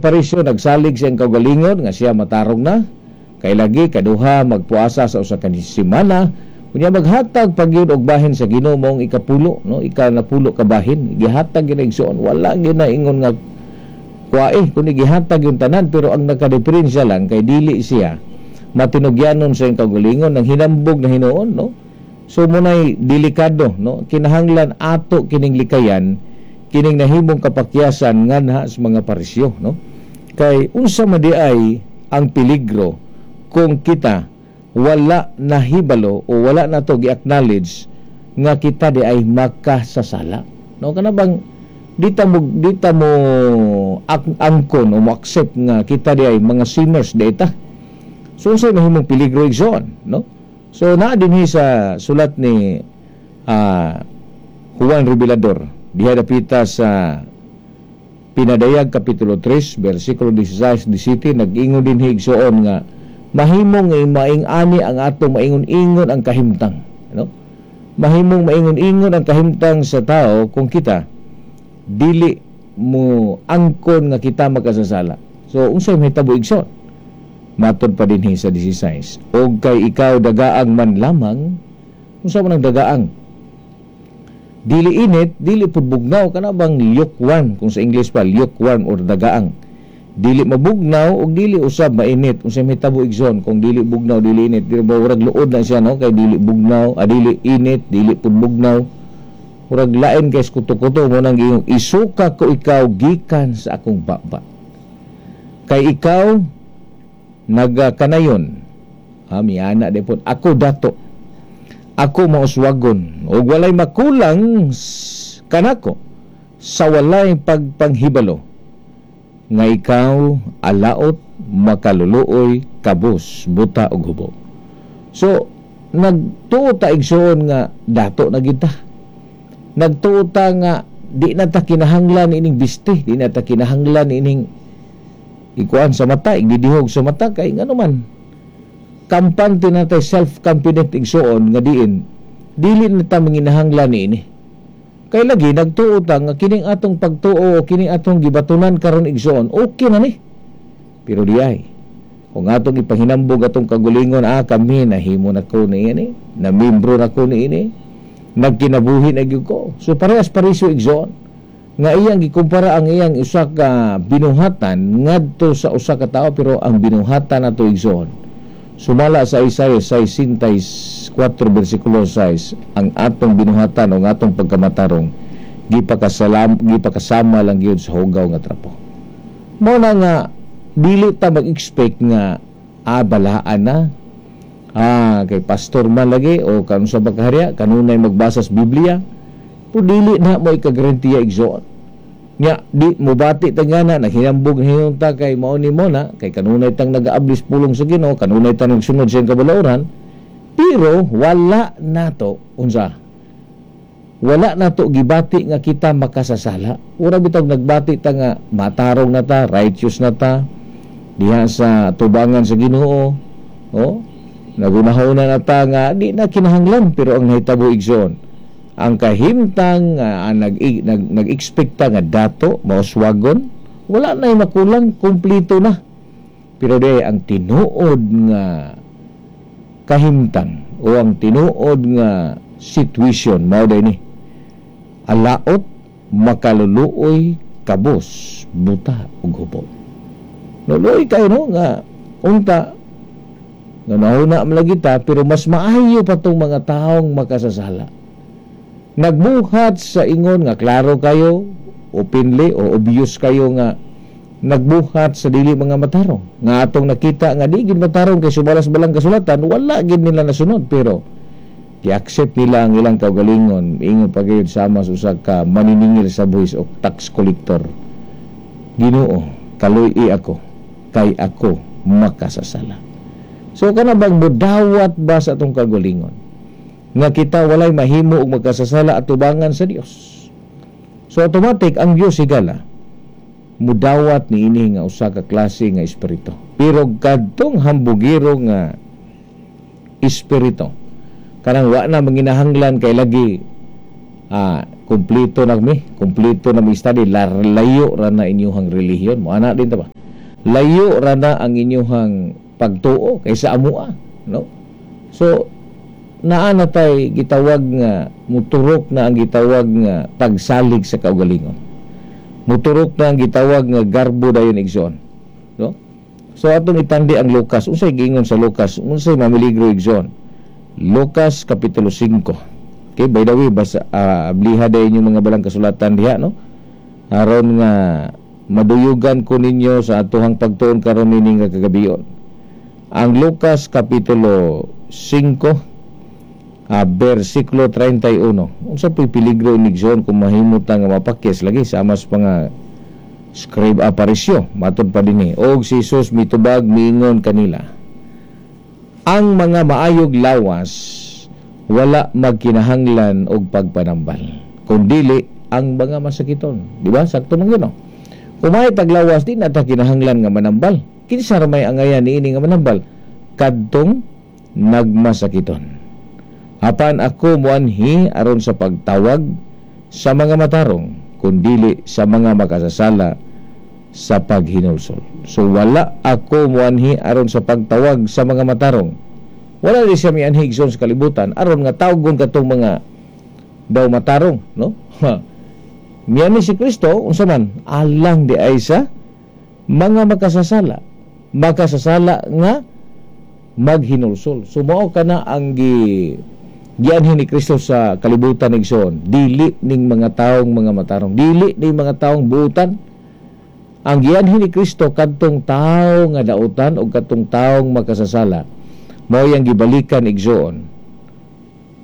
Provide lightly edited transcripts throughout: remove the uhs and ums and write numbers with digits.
Parisyo nagsalig siyang kaugalingon nga siya matarong na kay lagi, kaduha, magpuasa sa usa ka semana, unya maghatag pagyud og bahin sa Ginoo, maong ikapulo, no, ikanapulo ka bahin gihatag gyud, igsoon. Wala gyud na ingon nga kuwae kundi gihatag yung tanan. Pero ang nakadiferensya lang kay dili siya matinugyanon sa iyang kaugalingon ng hinambog na hinuon, no? So munay delikado, no? Kinahanglan ato kining likayan kining nahimong kapakyasan nganha sa mga Parisyo, no? Kay unsa man diay ang peligro kung kita wala nahibalo o wala na to gi-acknowledge nga kita di ay makasasala, no? Kana bang di ta mo angkon o mo accept nga kita di ay mga sinners di ta. So unsay mahimong peligro, igsoon, no? So naa dinhi sa sulat ni Juan Revelador diha dapita sa Pinadayag kapitulo 3 bersikulo 16 17, nag-ingon dinhi, igsoon, nga mahimong maing-ani ang ato maingon-ingon ang kahimtang, no? Mahimong maingon-ingon ang kahimtang sa tao kung kita dili mo angkon nga kita makasasala. So unsay mahitabo, igsoon? Matod pa dinhi sa 16, og kay ikaw dagaang man lamang. Unsa man ang dagaang? Dili init, dili pud bugnaw, kana bang lukewarm, kung sa English pa, lukewarm or dagaang. Dili mabugnaw ug dili usab mainit. Unsay mahitabo, igsoon, kung dili bugnaw, dili init? Dili ba murag luod na siya, no? Kay dili bugnaw, dili init, dili pud bugnaw, murag lain kay kuto-kuto mo nang giingon, isuka ko ikaw gikan sa akong baba kay ikaw nagakanayon, ha, miana di pod, ako dato, ako mauswagon ug walay makulang kanako, sa walay pagpanghibalo nga ikaw alaot, makaluluoy, kabus, buta ug hubo. So nagtuo ta, igsoon, nga dato na kita. Nagtuo ta nga di na ta kinahanglan ining biste, di na ta kinahanglan ining ikuan sa mata, igdidihog sa mata, kay ngano man kampante na tay, self-confident, igsoon, nga diin dili na ta manginahanglan niini. Kay lagi nagtuo ta nga kining atong pagtuo o kining atong gibatunan karon, igsoon, okay na ni. Pero di ay kung atong ipahinambog atong kagulingon, ah, kami nahimo na ko niini, na membro na ko niini, nagkinabuhi na gyud ko. So parehas Parisyo, igsoon, nga iyang gikumpara ang iyang usa ka binuhatan ngadto sa usa ka tawo. Pero ang binuhatan nato, igsoon, sumala sa Isaiah 64 versikulo 6, ang atong binuhatan o ang atong pagkamatarong gipakasama lang gyud sa hugaw nga trapo. Mao na nga dili ta mag-expect nga balaan na, kay pastor man lagi o kanus sa pagkaharya, kanunay magbasa sa Biblia, pero dili na mo ikagarantiya, igsoon. Nya di mo bati ta nga na naghinambog hinon ta kay mao ni mo na kay kanunay tang nagaablis pulong sa Ginoo, kanunay tang nagsunod sa iyang kabalauran, pero wala nato unsa, wala nato gibati nga kita makasasala. Ura bitaw nagbati ta nga matarong na ta, righteous na ta diha sa tubangan sa Ginoo, oh, nagunahona na ta nga di na kinahanglan. Pero ang nahitabo, igsoon, ang kahimtang nag-expect ta nga dato, mauswagon, wala na makulang, kumplito na. Pero di ang tinuod nga kahimtang o ang tinuod nga situation mao day ni alaot, makaluluoy, kabos, buta ug hubo. No, luoy kayo, no, nga unta nga nahuna man lagi ta, pero mas maayo pa tong mga taong makasasala, nagbuhat sa ingon nga klaro kayo, openly o obvious kayo nga nagbuhat sa dili mga matarong, nga atong nakita nga di gid matarong kay sumala sa balang kasulatan wala gid nila nasunod, pero gi-accept nila ang ilang kaugalingon. Ingon pa gayud sama sa usa ka maniningil sa buhis o tax collector, "Ginoo, kaluy ako kay ako makasasala." So kana bang mudawat ba sa atong kaugalingon nga kita walay mahimo og magkasasala at tubangan sa Dios? So automatic ang Dios higala mudawat niini nga usa ka klase nga espiritu. Pero kadtong hambugiro nga espiritu, kanang wa na manginahanglan kay lagi Kumpleto na mi, kumpleto na mi study, layo ra na inyuhang relihiyon. Mo ana din ta ba? Layo ra na ang inyuhang pagtuo kaysa amua, no? So naa na tay gitawag nga muturok na ang gitawag nga pagsalig sa kaugalingon. Muturok na ang gitawag nga garbo dayon, igsoon, no? So atong itandi ang Lucas. Unsay giingon sa Lucas? Unsay mamiligro, igsoon? Lucas kapitulo 5. Okay, by the way, basa abliha dayon yung mga balang kasulatan diha, no? Aron nga maduyugan ko ninyo sa atuhang pagtuon karon nining nga kagabion. Ang Lucas kapitulo 5, versikulo 31. Unsa po'y peligro, igsoon, kung mahimo ta nga mapakyas lagi sa mas mga scribe aparisyo? Matod pa dinhi, og si Jesus mitubag, miingon kanila, "Ang mga maayog lawas wala magkinahanglan og pagpanambal, kundili ang mga masakiton." Di ba? Sakto man gyud, no? Kung may taglawas, di na ta kinahanglan nga manambal. Kinsa ra may angayan niini nga manambal? Kadtong nagmasakiton. Apan ako moanhi aron sa pagtawag sa mga matarong, kundili sa mga makasasala sa paghinulsol. So wala ako moanhi aron sa pagtawag sa mga matarong. Wala di siya mianhi, igsoon, sa kalibutan aron nga tawgon katong mga daw matarong, no? Mianhi si Kristo unsa man? Alang di ay sa mga makasasala. Makasasala nga maghinulsol. So mao kana ang gianhi ni Kristo sa kalibutan, igsoon. Dili ning mga taong mga matarong, dili ning mga taong buutan. Ang gianhi ni Kristo, kadtong tawo nga dautan o kadtong taong makasasala. Mao yang gibalikan, igsoon.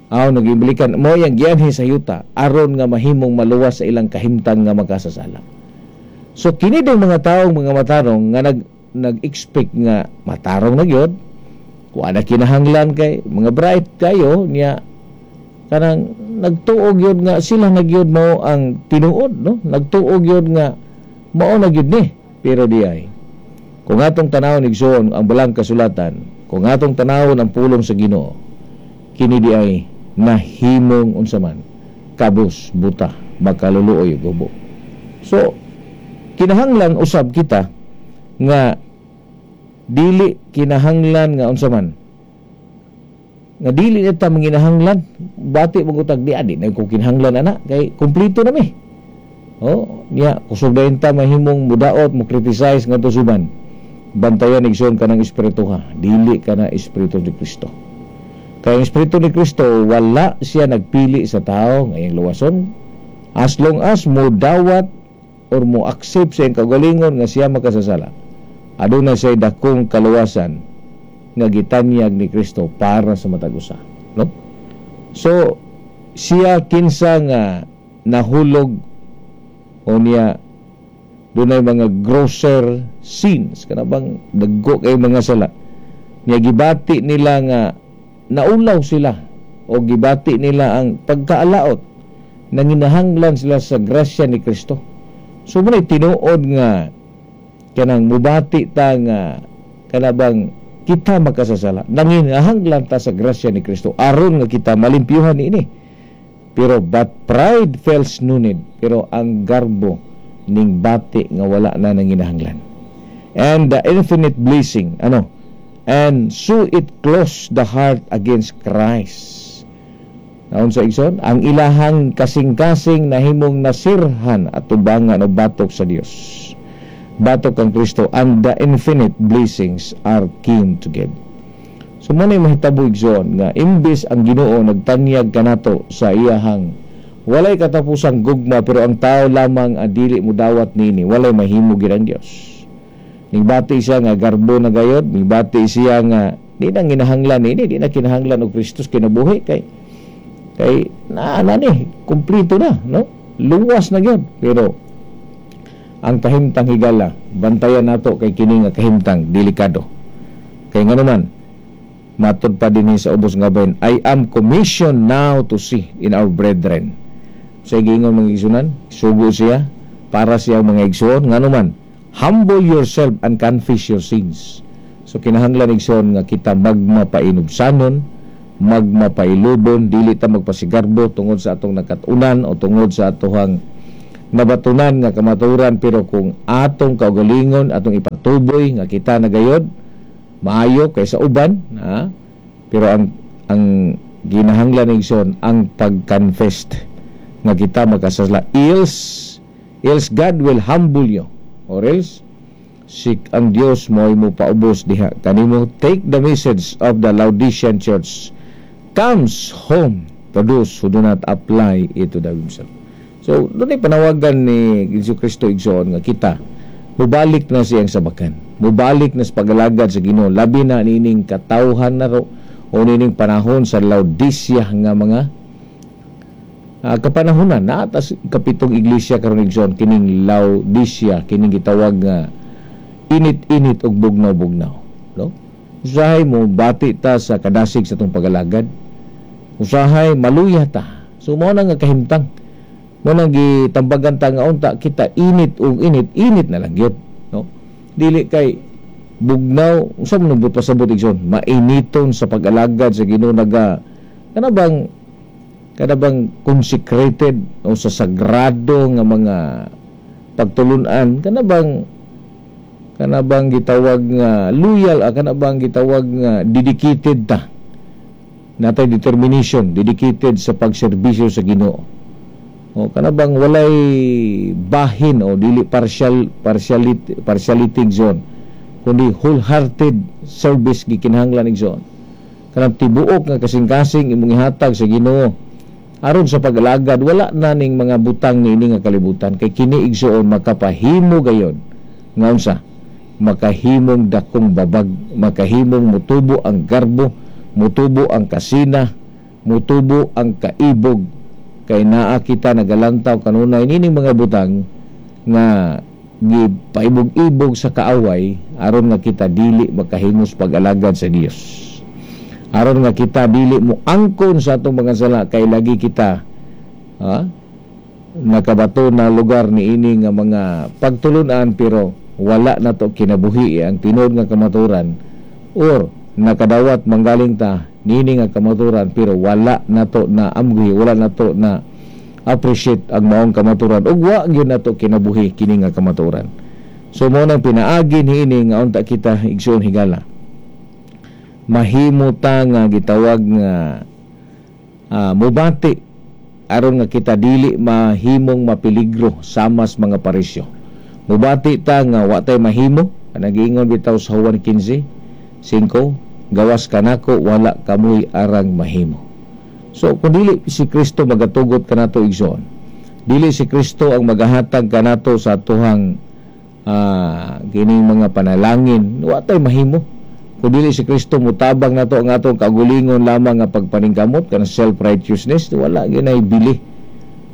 Aw nagibalikan, mao yang gianhi sa yuta aron nga mahimong maluwas sa ilang kahimtang nga makasasala. So kini ding mga taong mga matarong nga nag-expect nga matarong na gyud, wa na kinahanglan kay mga bright kayo niya, kanang nagtuo gyud nga sila na gyud mao ang tinuod, no? Nagtuo gyud nga mao na gyud ni. Pero di ay kung atong tanawon, igsoon, ang balang kasulatan, kung atong tanawon ang pulong sa Ginoo, kini di ay nahimong unsa man? Kabus, buta, makaluluoy, gubo. So kinahanglan usab kita nga dili kinahanglan nga unsa man nga dili na ta manginahanglan. Bati mo tag di adi na ko kinahanglan ana kay kumpleto na mi. Oh, niya kusog dayon ta mahimong mudaot, mo criticize ngadto suban. Bantayan, igsoon, kanang espiritu ha, dili kana espiritu ni Kristo. Kay ang espiritu ni Kristo, wala siya nagpili sa tao ngayong luwason, as long as mo dawat or mo accept sa iyang kaugalingon nga siya makasasala. Aduna siya dakong kaluwasan nga gitanyag ni Kristo para sa matag usa, no? So siya kinsa nga nahulog o niya dunay mga grosser sins, kana bang dagko kay mga sala niya, gibati nila nga naulaw sila o gibati nila ang pagkaalaot, nanginahanglan sila sa grasya ni Kristo. So mo tinuod nga kanang mubati ta nga kana bang kita makasasala, nanginahanglan ta sa grasya ni Kristo aron nga kita malimpyuhan niini. Pero but pride feels no need. Pero ang garbo ning bati nga wala na nanginahanglan. And the infinite blessing, ano, and so it closed the heart against Christ. Naon sa, igsoon, ang ilahang kasing-kasing nahimong nasirhan at tubangan o batok sa Dios, batok ang Kristo, and the infinite blessings are keen to give. So mo na mahitabo, igsoon, nga imbis ang Ginoo nagtanyag kanato sa iyahang walay katapusang gugma, pero ang tao lamang ang dili mo dawat nini, walay mahimo gid ang Dios. Nigbati siya nga garbo na gayod, nigbati siya nga di na ginahanglan ini, di na kinahanglan og Kristus kinabuhi kay na na ni kumpleto na, no? Luwas na gyud. Pero ang kahimtang, higala, bantayan nato kay kini nga kahimtang delikado. Kay ngano man, matod pa dinhi sa ubos nga bahin, "I am commissioned now to see in our brethren." Sa giingon, mga igsunan, sugo siya para siya mga igsuon, ngano man, "Humble yourself and confess your sins." So kinahanglan, igsoon, nga kita magmapainubsanon. Magmapailubon, dili ta magpasigarbo tungod sa atong nakat-unan o tungod sa atohang nabatunan nga kamaturan, pero kung atong kaugalingon, atong ipatuboy nga kita na gayod maayo kaysa uban, ha? Pero ang ginahanglan, igsoon, ang pag-confess nga kita makasasala, else God will humble you, or else si ang Dios mo'y mo paubos diha kanimo. Take the message of the Laodicean church comes home to those who do not apply it to themselves. So doon ay panawagan ni Jesu Kristo, igsoon, nga kita mubalik na siyang sabakan, mubalik na sa pagalagad sa Ginoo, labi na nining katawhan na ro o nining panahon sa Laodicea nga mga kapanahonan na atas kapitong iglesia karon, igsoon, kining Laodicea, kining gitawag nga init-init ug bugnaw-bugnaw, no? Usahay mo bati ta sa kadasig sa atong pagalagad, usahay maluya ta. So mao na nga kahimtang mo nang gitambagan ta nga unta kita init ug init, init na lang gyud, no? Dili kay bugnaw. Unsa man nang pasabot, igsoon? Mainiton sa pag-alagad sa Ginoo, naga kana bang consecrated o sa sagrado nga mga pagtulunan, kana bang gitawag nga loyal, kana bang gitawag nga dedicated ta, natay determination, dedicated sa pagserbisyo sa Ginoo, o kana bang walay bahin o dili partial, partiality, igsoon, kundi wholehearted service gikinahanglan, igsoon, kanang tibuok nga kasing-kasing imong ihatag sa Ginoo aron sa pag-alagad. Wala na ning mga butang niini nga kalibutan, kay kini, igsoon, makapahimo gayon nga unsa? Makahimong dakong babag, makahimong mutubo ang garbo, mutubo ang kasina, mutubo ang kaibog, kay naa kita nagalantaw kanunay nining mga butang nga gipaibog-ibog sa kaaway aron nga kita dili makahimos pag-alagad sa Dios, aron nga kita dili mo angkon sa atong mga sala, kay lagi kita, ha, nakabato na lugar niini nga mga pagtulunan, pero wala na to kinabuhi ang tinuod nga kamaturan, or nakadawat manggaling ta niini nga kamaturan, pero wala na to na amguhi, wala na to na appreciate ang maong kamaturan, ug wa gyud nato kinabuhi kini nga kamaturan. So mo nang pinaagi niini nga unta kita, igsoon higala, mahimo ta nga gitawag nga mubati aron nga kita dili mahimong mapeligro samas mga Pariseo. Mubati ta nga wa tay mahimo. Nagiingon bitaw sa Juan 15:5, "Gawas kanako wala kamoy arang mahimo." So kung dili si Kristo magatugot kanato, igsoon, dili si Kristo ang magahatag kanato sa atuhang kining mga panalangin, wa tay mahimo. Kung dili si Kristo mutabang nato ang atong kaugalingon lamang nga pagpaningkamot, kanang self-righteousness, wala ginay bili.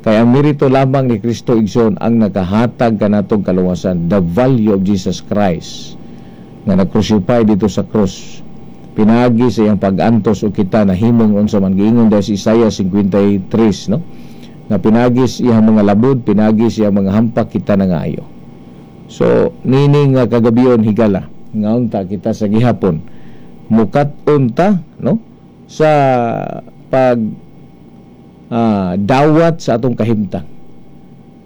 Kay ang merito lamang ni Kristo, igsoon, ang nakahatag kanatong kaluwasan, the value of Jesus Christ nga nag-crucify dito sa cross. Pinaagi sa iyang pag-antos o kita nahimong unsa man. Giingon dahil sa Isaiah 53, no? Nga pinagi sa iyang mga labod, pinagi sa iyang mga hampak, kita nangayo. So nini nga kagabion, higala, nga unta kita sa gihapon mukat-on ta, no, sa pag dawat sa atong kahimtang,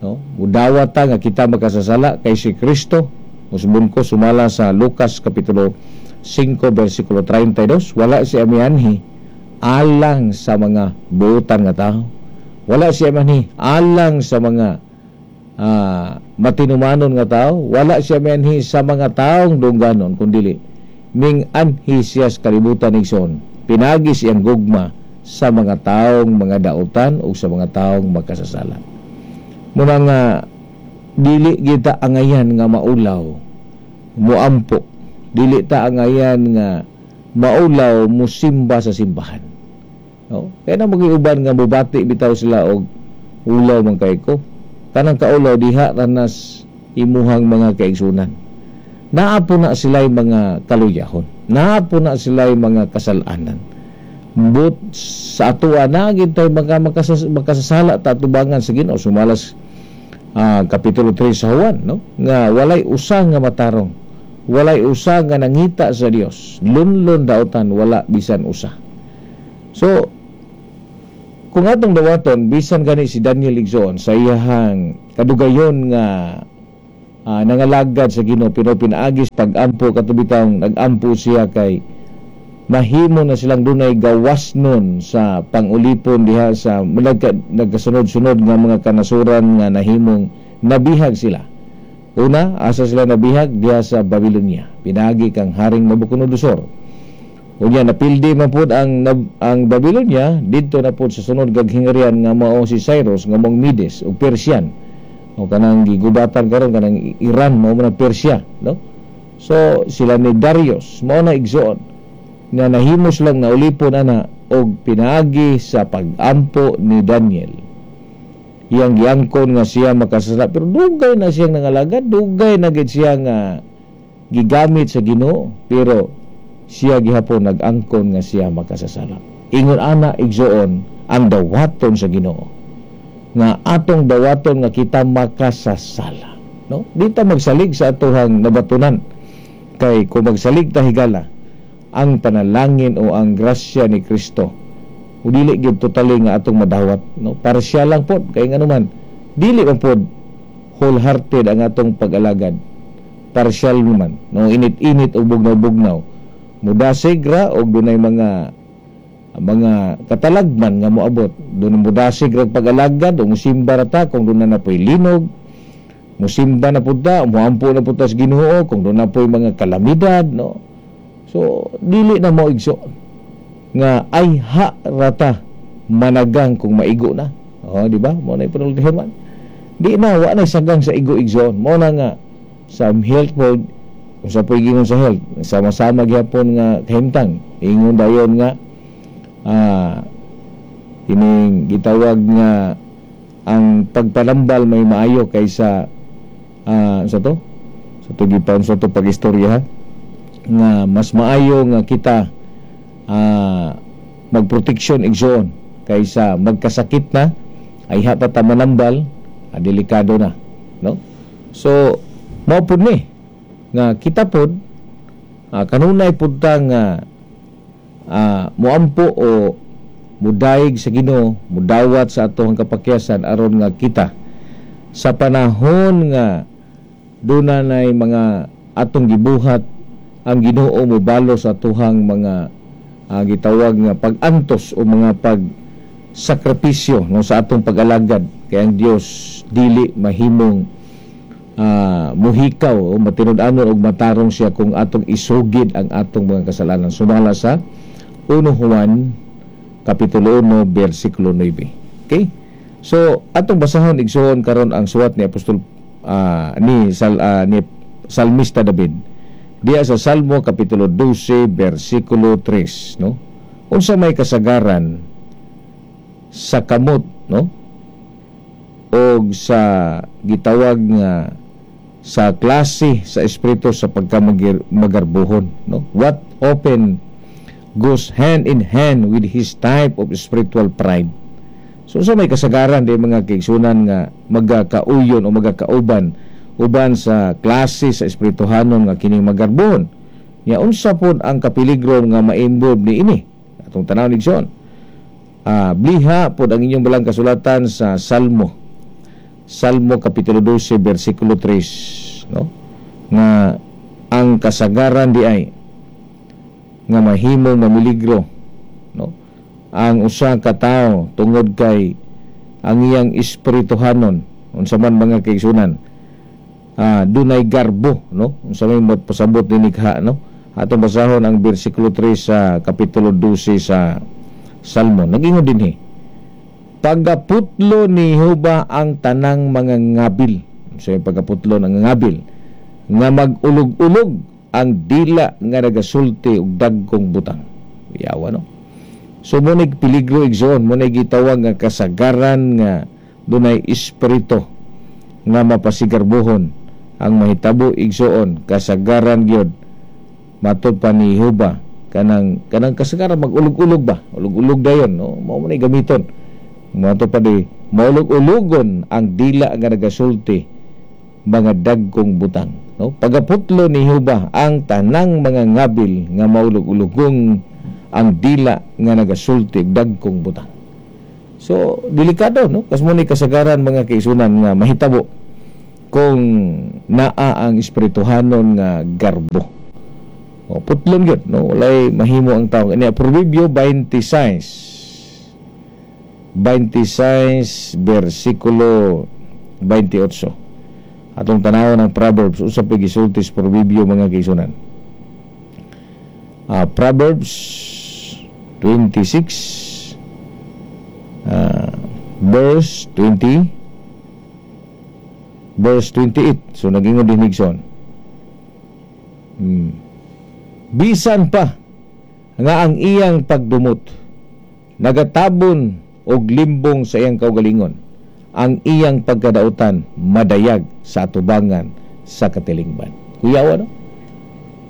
no? Mudawat ta nga kita makasasala, kay si Kristo, usbon ko sumala sa Lucas kapitulo 5 bersikulo 32, wala siya mianhi alang sa mga buutan nga tao, wala siya mianhi alang sa mga matinumanon nga tao, wala siya mianhi sa mga taong dungganon, kundili ming anhi siya sa kalibutan, igsoon, pinagi siyang gugma sa mga taong mga dautan o sa mga taong makasasala. Muna nga dili kita angayan nga maulaw muampo, dili ta angayan nga maulaw musimba sa simbahan, no? Kaya na magiuban nga mubati bitaw sila og ulaw man kay ko. Kanang kaulaw diha ranas imuhang mga kaigsunan, naa po na sila'y mga kaluyahon, naa po na sila'y mga kasalanan. But sa atoa na gid tay mga makasasala ta atubangan sa Ginoo, sumalas kapitulo 3 sa Juan, no, nga walay usa nga matarong, walay usa nga nangita sa Dios, lunlon dautan, wala bisan usa. So kung atong dawaton, bisan gani si Daniel, igsoon, sa iyahang kadugayon nga nangalagad sa Ginoo, pero pinaagi sa pag-ampo, kato bitawng nag-ampo siya kay mahimo na silang dunay gawas nun sa pangulipon diha sa nagkasunod-sunod nga mga kanasuran nga nahimong nabihag sila. Una, asa sila nabihag? Diha sa Babylonia. Pinaagi kang Haring Nabucodonosor. Unya napildi man pud ang Babylonia didto na pud sa sunod kag hingarian nga mao si Cyrus nga mong Medes ug Persian. O kanang gigubatan karon, kanang Iran, mao man ang Persia, no? So sila ni Darius mao na, igsoon, nga nahimo silang naulipon ana og pinaagi sa pag-ampo ni Daniel. Iyang giangkon nga siya makasasala, pero dugay na siyang nangalagad, dugay na gid siya nga gigamit sa Ginoo, pero siya gihapon nag-angkon nga siya makasasala. Ingon ana, igsoon, ang dawaton sa Ginoo nga atong dawaton nga kita makasasala, no? Di ta magsalig sa atuhang nabatunan, kay kung magsalig ta, higala ang panalangin o ang grasya ni Kristo o dili gyud totally nga atong madawat, no? Partial lang pod, kay nganuman dili man pod wholehearted ang atong pag-alagad, partial man, no? Init-init o bugnaw-bugnaw, mudasig ra og dunay mga katalagman nga moabot doon, mudasig ra pag-alagad o musimba ra ta kung doon na napoy linog, musimba na pud ta, muampo na pud ta sa Ginoo kung doon na poy mga kalamidad, no? So dili na mo, igso, nga ay ha rata managang kung maigo na. Oh, di ba? Mo na ipanultihan man. Di na, wa na sagang sa igo, igsoon. Mo na nga sa health board, kung sa pagiging sa health, sama-sama gyapon nga kahimtang. Ingon dayon nga kining gitawag nga ang pagpanambal may maayo kaysa sa to gipan sa to pag-istorya ha, nga mas maayo nga kita magproteksyon, igsoon, kaysa magkasakit na ay hata ta manambal, delikado na, no? So mao pud ni nga kita pod kanunay pud ta nga moampo o mudaig sa Ginoo, mudawat sa atong kapakyasan aron nga kita sa panahon nga duna nay mga atong gibuhat, ang Ginoo mobalo sa atuhang mga gitawag nga pag-antos o mga pagsakripisyo, no, sa atong pag-alagad, kay ang Dios dili mahimong muhikaw o matinud-anon og matarong siya kung atong isugid ang atong mga kasalanan, sumala sa 1 Juan kapitulo 1 bersikulo 9. Okay? So atong basahon, igsuon, karon ang suwat ni Apostol ni Salmista David diya sa Salmo kapitulo 12 bersikulo 3, no? Unsa may kasagaran sa kamot, no, og sa gitawag nga sa klase sa espiritu sa pagkamagarbuhon, no? What often goes hand in hand with his type of spiritual pride? So sa may kasagaran di, mga kaigsunan, nga magakauyon o magakauban uban sa klase sa espirituhanon nga kining magarbuhon? Nya unsa pod ang kapiligro nga ma-involve ni ini? Atong tan-awon, igsoon. Bliha pod ang inyong balang kasulatan sa Salmo kapitulo 12 bersikulo 3, no, nga ang kasagaran di ay nga mahimong mamiligro, no, ang usa ka tawo tungod kay ang iyang espirituhanon, unsa man, mga kaigsunan, dunay garbo, no? Unsa may pasabot ni nikha, no? Atong basahon ang bersikulo 3 sa kapitulo 12 sa Salmo. Nagingon dinhi, "Pagaputlo ni Jehova ang tanang mga ngabil." So yung pagaputlo ng ngabil nga mag-ulog-ulog ang dila nga nagasulti og dagkong butang. Yawa, no? So mo peligro, igsoon, mo gitawag nga kasagaran nga dunay espiritu nga mapasigarbuhon. Ang mahitabo, igsoon, kasagaran gyud matod pa ni Jehova kanang kasagaran mag-ulog-ulog ba, ulog-ulog dayon, no? Mao man gamiton. Mato pa di maulog-ulogon ang dila nga nagasulti mga dagkong butang, no? Pagaputlo ni Jehova ang tanang mga ngabil nga maulog-ulogong ang dila nga nagasulti dagkong butang. So delikado, no? Kasmo ni kasagaran, mga kaigsuonan, nga mahitabo kung naa ang espirituhanon nga garbo. O, putlon gyud, no? Walay mahimo ang tao. Ini Proverbio 26 26 versikulo 28. Atong tanawon ang Proverbs, usa pa gisulti sa Proverbio, mga kaigsuonan. Proverbs 26 verse 20, verse 28. So nagingon din igsoon. Bisan pa nga ang iyang pagdumot nagatabon og limbong sa iyang kaugalingon, ang iyang pagkadautan madayag sa atubangan sa katilingban. Kuyaw, ano?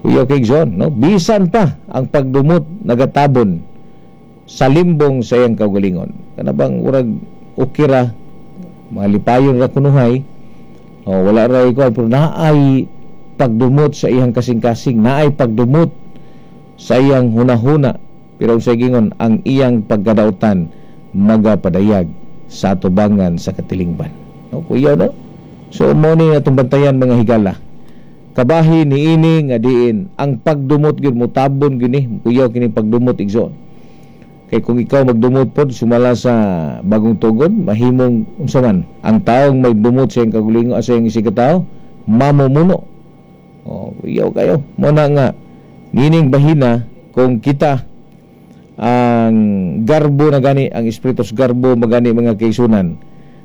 Kuyaw kay John, no? Bisan pa ang pagdumot nagatabon sa limbong sa iyang kaugalingon. Kana bang urag ukira, malipayon ra kunuhay, o wala ra ikaw, pero naay pagdumot sa iyang kasing-kasing, naay pagdumot sa iyang hunahuna, pero sa gingon, ang iyang pagkadautan magapadayag sa atubangan sa katilingban. No, kuya, no? So mo ni atong bantayan, mga higala. Kabahin niini nga diin ang pagdumot gyud mutabon gyud ni, kuyaw kini pagdumot, igsoon. Kay kung ikaw magdumot pod sumala sa Bagong Tugon, mahimong unsa man ang taong magdumot sa iyang kaugalingon, sa iyang isig tao, mamumuno. Oh, kuyaw kayo. Mo na nga nining bahina, kung kita ang garbo na gani, ang espiritu sa garbo magani, mga kaigsuonan,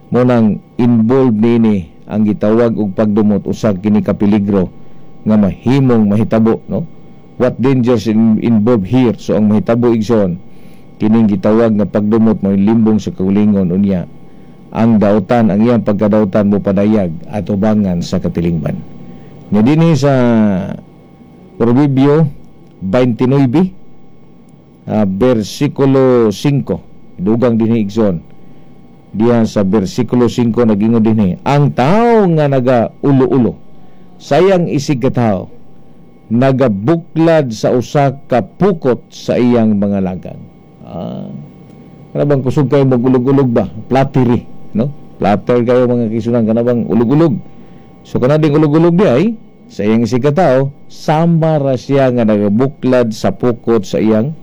mo nang involved niini ang gitawag og pagdumot, usa kini ka peligro nga mahimong mahitabo, no? What dangers involved here? So ang mahitabo, igsoon, kining gitawag nga pagdumot mo limbong sa kaugalingon, unya ang dautan, ang iyang pagkadautan mo padayag atubangan sa katilingban. Nya dinhi sa Proverbio 29 versikulo 5, dugang dinhi, igsoon. Diha sa versikulo 5, nagingon dinhi, ang tao nga naga ulo-ulo sayang isig ka tao nagabuklad sa usa ka pukot sa iyang mga lagang. Kana bang kusog kayo magulog-ulog ba? Flattery, no? Flatter kayo, mga kaigsuonan, kana bang ulog-ulog. So kana ding ulog-ulog di ay sa iyang isig ka tao, sama ra siya nga nagabuklad sa pukot sa iyang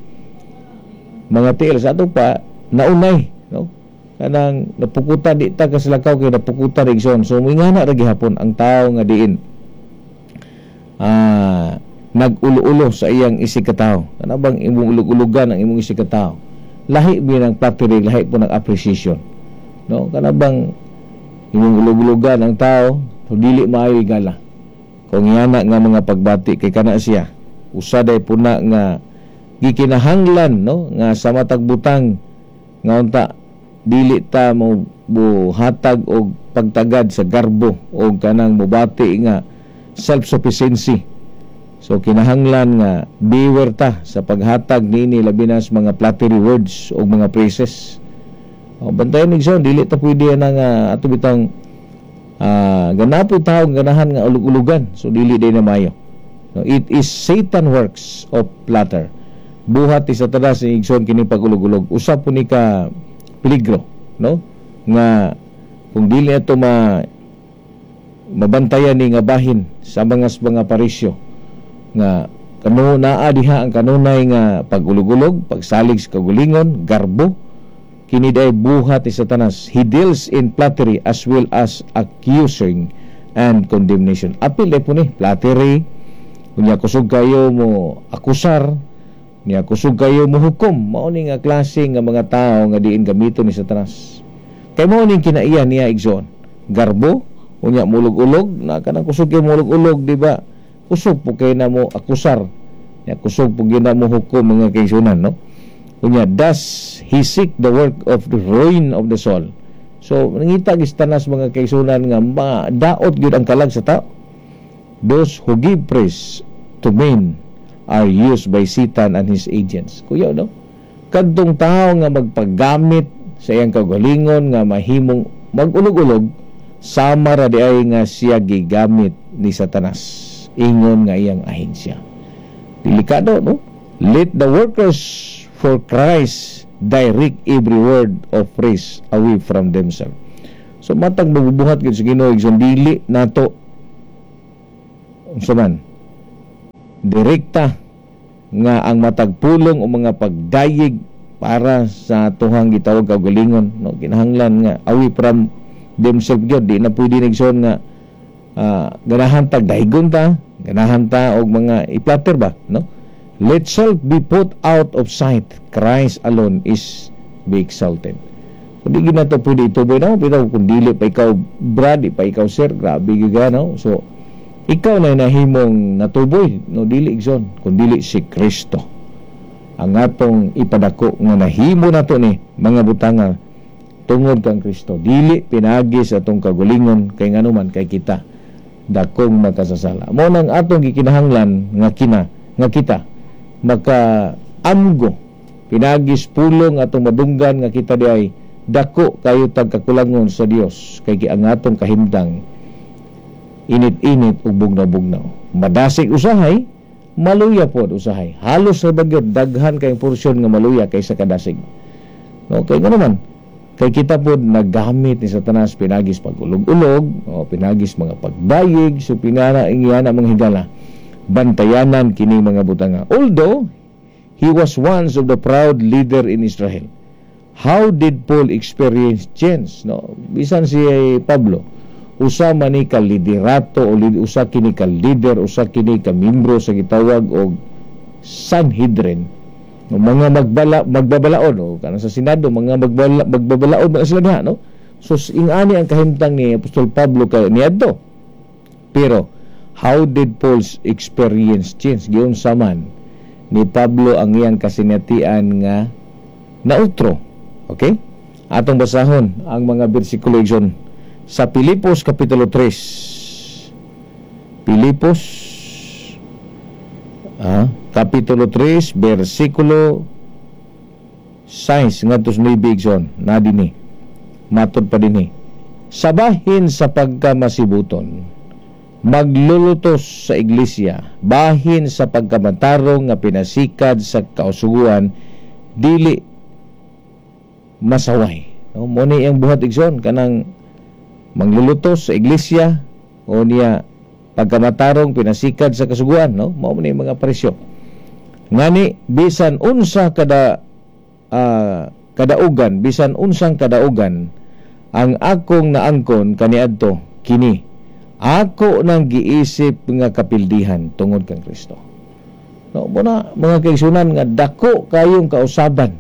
mga tiil. Sa ato pa naunay, no? Kanang napukutan, di ta kasilakaw kay napukutan, igsoon. So moingana ra gihapon ang tao nga diin nag-ulo-ulo sa iyang isig ka tao. Kana bang imong ulog-ulugan ang imong isig ka tao, lahi bi ng flattery, lahi po ng appreciation, no? Kana bang imong ulog-ulugan ang tao, so dili maayo igala kung yana nga mga pagbati, kay kana siya usa day puna nga gikinahanglan, no, nga sa matag butang nga unta dili ta mo buhatag og pagtagad sa garbo o kanang mobati nga self-sufficiency. So kinahanglan nga beware ta sa paghatag niini, labi na sa mga flattery words o mga praises. O, bantayan, igsoon, dili ta pwede na nga ato bitang ganapo tao ganahan nga ulug-ulugan. So dili day na mayo. No, it is Satan works of flatter. Buhat ni Satanas ni, igsoon, kini pag-ulog-ulog. Usa po ni ka peligro, no? Nga kung dili ato mabantayan ni nga bahin sa mga parisyo nga kano naa diha ang kanunay nga pag-ulog-ulog, pagsalig sa kaugalingon, garbo, kini day buhat ni Satanas. He deals in flattery as well as accusing and condemnation. Apil day po ni flattery, unya kusog kayo mo akusar, niya kusog kayo mo hukom. Mao ni nga klase nga mga tao nga diin gamiton ni Satanas. Kay mao ning kinaiya niya, igsoon. Garbo, unya mulog-ulog, na kanang kusog kayo mulog-ulog, di ba? Kusog po kay na mo akusar. Nya kusog po gyud na mo hukom, mga kaigsuonan, no? Unya does he seek the work of the ruin of the soul. So nangita gi Satanas, mga kaigsuonan, nga daot gyud ang kalag sa tao. Those who give praise to men are used by Satan and his agents. Kuya, no? Kadtong tao nga magpaggamit sa iyang kaugalingon nga mahimong magulog-ulog, sama ra di ay nga siya gigamit ni Satanas ingon nga iyang ahensya. Delikado, no? Let the workers for Christ direct every word of praise away from themselves. So matag magbubuhat gyud sa Ginoo, igsoon, dili nato unsa man direkta nga ang matag pulong o mga pagdayeg para sa atuhang gitawag kaugalingon, no? Kinahanglan nga away from themselves gyud. Di na pwede, igsoon, nga ganahan tag daygon ta, ganahan ta og mga i-flatter ba, no? Let self be put out of sight, Christ alone is be exalted. So di gid nato pwede ituboy, no? Pero kung dili pa ikaw brad, di pa ikaw sir, grabe gyud ka, no? So ikaw na nahimong natuboy, no? Dili, igsoon, kung dili si Kristo ang atong ipadako nga nahimo nato ni mga butanga tungod kang Kristo, dili pinagi sa atong kagulingon, kay nganuman kay kita dakong makasasala. Mo nang atong gikinahanglan nga kina nga kita maka amgo pinagis pulong atong madunggan nga kita di ay dako kayo tagkakulangon sa Dios, kay ang atong kahimtang init-init ug bugnaw-bugnaw, madasig usahay, maluya pod usahay. Halos sa bagyot daghan kay porsyon nga maluya kaysa kadasig, no? Kay naman kay kita pod naggamit ni Satanas pinagis pag-ulog-ulog o pinagis mga pagdayeg. So pinana ingana, mga higala, bantayanan kini mga butanga. Although he was once of the proud leader in Israel, how did Paul experience change, no? Bisan si Pablo, usa man ni ka liderato o usa kini ka leader, usa kini ka membro sa gitawag og Sanhedrin, no, mga magbabalaod o kanang sa Senado, mga magbabalaod man sila diha, no? So ingani ang kahimtang ni Apostol Pablo kay niadto. Pero how did Paul's experience change? Giunsa man ni Pablo ang iyang kasinatian nga nautro? Okay, atong basahon ang mga bersikulo, igsoon, sa Pilipos Kapitulo 3. Pilipos Kapitulo 3 bersikulo 6 ngadto sa 9, igsoon, na dinhi. Matod pa dinhi, sa bahin sa pagkamasibuton, maglulutos sa iglesia, bahin sa pagkamatarong nga pinasikad sa kausuguan, dili masaway, no? Mo ni ang buhat, igsoon, kanang manglulutos sa iglesia o niya pagkamatarong pinasikad sa kasuguan, no? Mao ni mga presyo. Ngani bisan unsa kada kadaugan, bisan unsang kadaugan ang akong naangkon kaniadto, kini ako nang giisip nga kapildihan tungod kang Kristo, no? Mo na, mga kaigsunan, nga dako kayong kausaban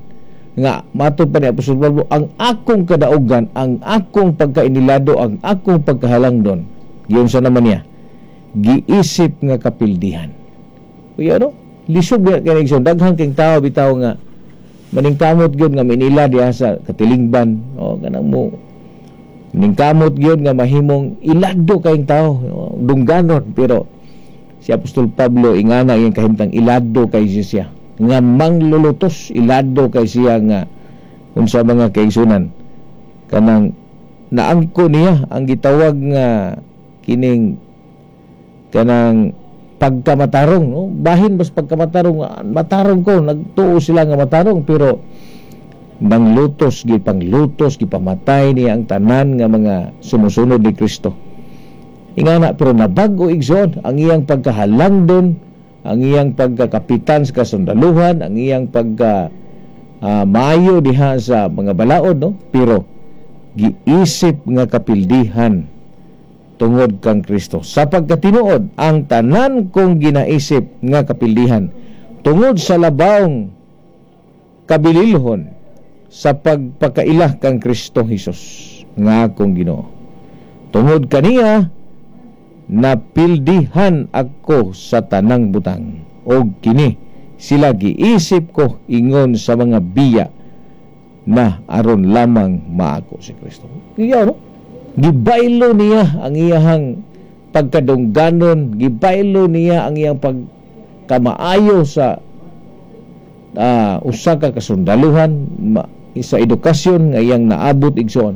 nga matod pa ni Apostol Pablo, ang akong kadaugan, ang akong pagkainilado, ang akong pagkahalangdon, giunsa naman niya? Giisip nga kapildihan. Kuya, no, lisod ba kay, igsoon? Daghan king tao bitaw nga maningkamot gyud nga minila diha sa katilingban o kanang mo ningkamot gyud nga mahimong ilado kayong tao, dungganon. Pero si Apostol Pablo, ingana iyang kahimtang, ilado kay siya nga manglulutos, ilado kay siya nga unsa, mga kaigsunan, kanang naangko niya ang gitawag nga kining kanang pagkamatarong, no? Bahin bas pagkamatarong, matarong ko, nagtuo sila nga matarong, pero nanglutos, gipanglutos, gipamatay niya ang tanan nga mga sumusunod ni Kristo. Ingana, pero nabag-o, igsoon, ang iyang pagkahalangdon, ang iyang pagkakapitan sa kasundaluhan, ang iyang pagka maayo diha sa mga balaod, no? Pero giisip nga kapildihan tungod kang Kristo. Sa pagkatinuod, ang tanan kong ginaisip nga kapildihan tungod sa labawng kabililhon sa pagpakaila kang Kristo Hesus nga akong Ginoo. Tungod kaniya napildihan ako sa tanang butang, og kini sila giisip ko ingon sa mga biya na aron lamang maako si Kristo. Iya, no? Gibaylo niya ang iyahang pagkadungganon, gibaylo niya ang iyang pagkamaayo sa usa ka kasundaluhan, sa edukasyon nga iyang naabot, igsoon.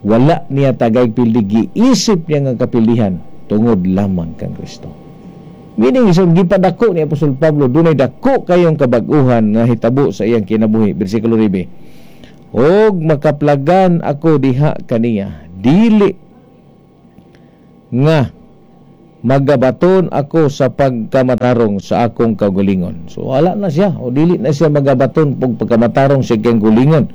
Wala niya tagay pildi, giisip niya nga kapildihan tungod lamang kang Kristo. Meaning, so gipadako ni Apostol Pablo, dunay dako kayong kabag-uhan nga hitabo sa iyang kinabuhi. Bersikulo 9. Og makaplagan ako diha kaniya, dili nga magabaton ako sa pagkamatarong sa akong kaugalingon. So wala na siya, o dili na siya magabaton pag pagkamatarong sa iyang kaugalingon.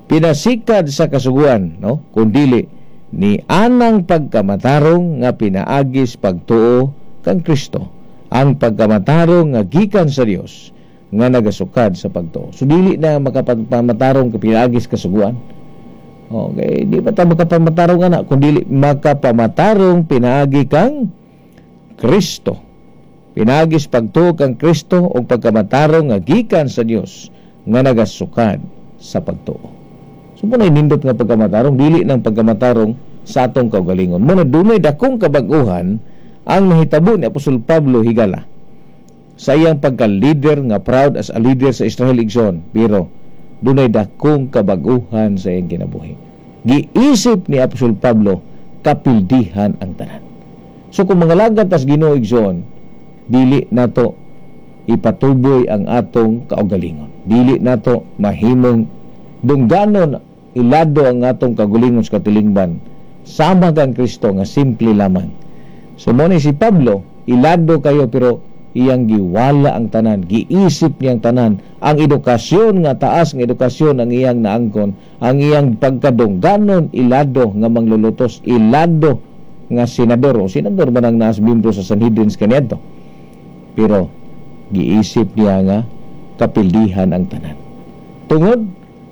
Pinasikad sa kasuguan, no? Kundili ni anang pagkamatarong nga pinaagis pagtuo kang Kristo, ang pagkamatarong nga gikan sa Dios nga nagasukad sa pagtuo. So dili na makapagpamatarong pinaagis kasuguan. Okay, di ba ta makapamatarong ana kun dili makapamatarong pinaagi kang Kristo. Pinaagis pagtuo kang Kristo og pagkamatarong nga gikan sa Dios nga nagasukad sa pagtuo. So mo na nindot nga pagkamatarong, dili nang pagkamatarong sa atong kaugalingon. Mo na dunay dakong kabag-uhan ang nahitabo ni Apostol Pablo, higala, sa iyang pagka-leader nga proud as a leader sa Israel, igsoon, pero dunay dakong kabag-uhan sa iyang kinabuhi. Giisip ni Apostol Pablo kapildihan ang tanan. So kung mangalagad tas Ginoo, igsoon, dili nato ipatuboy ang atong kaugalingon. Dili nato mahimong dungganon, ilado ang atong kaugalingon sa katilingban sama kang Kristo nga simple lamang. So mo ni si Pablo, ilado kayo, pero iyang giwala ang tanan, giisip niyang tanan, ang edukasyon nga taas nga edukasyon ang iyang naangkon, ang iyang pagkadungganon, ilado nga manglulutos, ilado nga senador, o senador man ang naas membro sa Sanhedrin kaniadto. Pero giisip niya nga kapildihan ang tanan tungod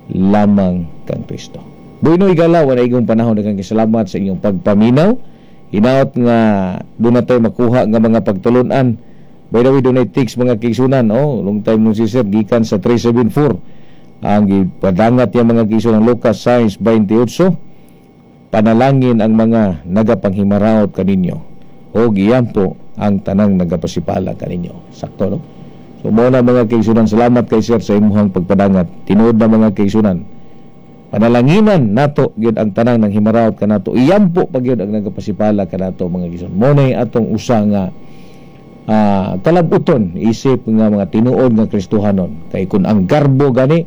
lamang kang Kristo. Bueno, higala, wala igong panahon. Daghang salamat sa inyong pagpaminaw. Hinaot nga doon na tayo makuha nga mga pagtulunan. By the way, doon ay text, mga kaigsunan, oh, long time no see, sir, gikan sa 374. Ang gipadangat niya, mga kaigsunan, Lucas 6:28, panalangin ang mga nagapanghimaraot kaninyo o giyampo ang tanang nagapasipala kaninyo. Sakto, no? So mo na, mga kaigsunan, salamat kay sir sa imuhang pagpadangat. Tinuod na, mga kaigsunan, panalanginan nato gyud ang tanang nang himaraot kanato, iyampo pa gyud ang nagapasipala kanato, mga kaigsunan. Mo na atong usa nga kalabuton isip nga mga tinuod nga Kristohanon, kay kun ang garbo gani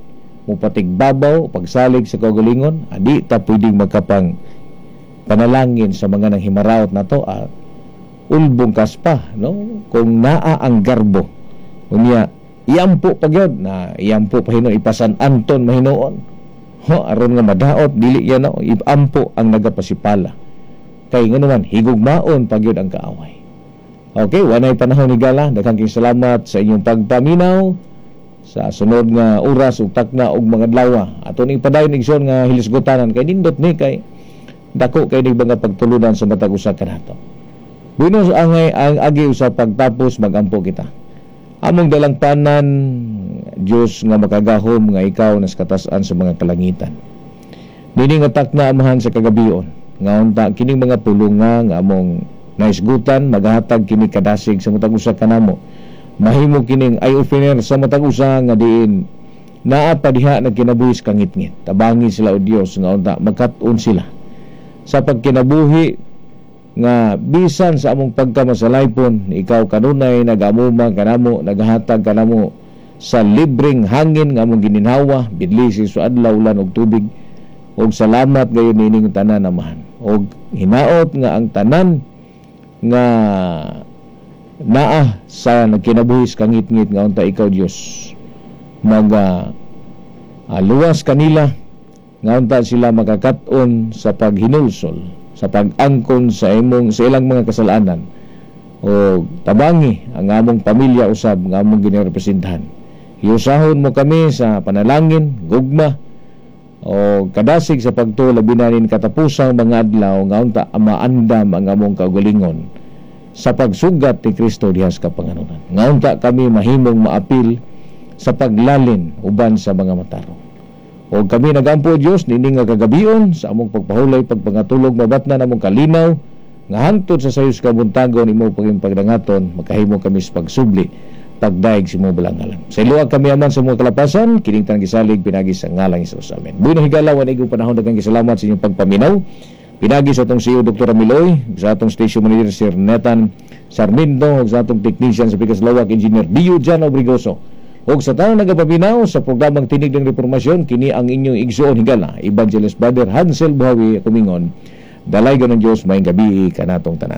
mupatigbabaw pagsalig sa kaugalingon, adi ta pwedeng magkapang panalangin sa mga nang himaraot nato. Ulbong kaspa, no, kung naa ang garbo. Unya iyampo pa gyud na, iyampo pa hinuon, ipasan Anton mahinuon. Ho, aron nga madaot dili yan, no, iampo ang nagapasipala. Kay ngano man higugmaon pa gyud ang kaaway. Okay, wanay panahon, higala. Daghang kayong salamat sa inyong pagpaminaw. Sa sunod nga oras ug takna og mga adlaw, ato ning padayon, igsoon, nga hilisgutanan kay nindot ni, kay dako kay ni mga pagtulunan sa matag usa kanato. Bueno, ang agi sa pagtapos, magampo kita. Among dalangpanan, Diyos nga makagahom nga ikaw nas katasan sa mga kalangitan. Nini nga takna, Amahan, sa kagabion, nga unta kining mga pulunga nga among naisgutan magahatag kini kadasig sa matag usa kanamo. Mahimo kining eye opener sa matag usa nga diin naa pa diha nagkinabuhi sa kangitngit. Tabangi sila, o Dios, nga unta makat-on sila sa pagkinabuhi nga bisan sa among pagkamasalaypon, ikaw kanunay nagamuma kanamo, nagahatag kanamo sa libreng hangin nga among gininhawa bidlisi sa adlaw, ulan og tubig. Og salamat gayon nining tanan, Amahan, og hinaot nga ang tanan nga naa sa nagkinabuhi sa kangitngit, nga unta ikaw, Dios, maga luwas kanila, nga unta sila makakat-on sa paghinulsol, sa pag-angkon sa ilang mga kasalanan. O tabangi ang among pamilya usab nga among ginerepresentahan. Hiusahon mo kami sa panalangin, gugma o kadasig sa pagtuo, labi na nin katapusang mga adlaw, nga unta maandam ang among kaugalingon sa pagsugat ni Kristo diha sa kapanganunan, nga unta kami mahimong maapil sa paglalin uban sa mga matarong. O kami nagampo, Dios, nining nga kagabion sa among pagpahulay, pagpangatulog, mabatnan among kalinaw nga hantod sa sayos kabuntagon imo paging pagdangaton, makahimo kami sa pagsubli, pagdaig sa imong balang ngalan. Sa iluwa kami, Aman, sa mga kalapasan, kining tanang gisalig pinagi sa ngalan ni Jesus. Amen. Bueno, higala, wa igong panahon. Daghang salamat sa inyong pagpaminaw. Pinagi sa atong CEO Dr. Amiloy, sa atong station manager Sir Nathan Sarmiento, ug sa atong technician sa Pikas Lawak, Engineer Dio Jan Obrigoso. Ug sa tanang nagapaminaw sa programang Tinig ng Reformasyon, kini ang inyong igsuon higala, Evangelist Brother Hansel Buhawi, kumingon, dalaygon ng Diyos, maayong gabii kanatong tanan.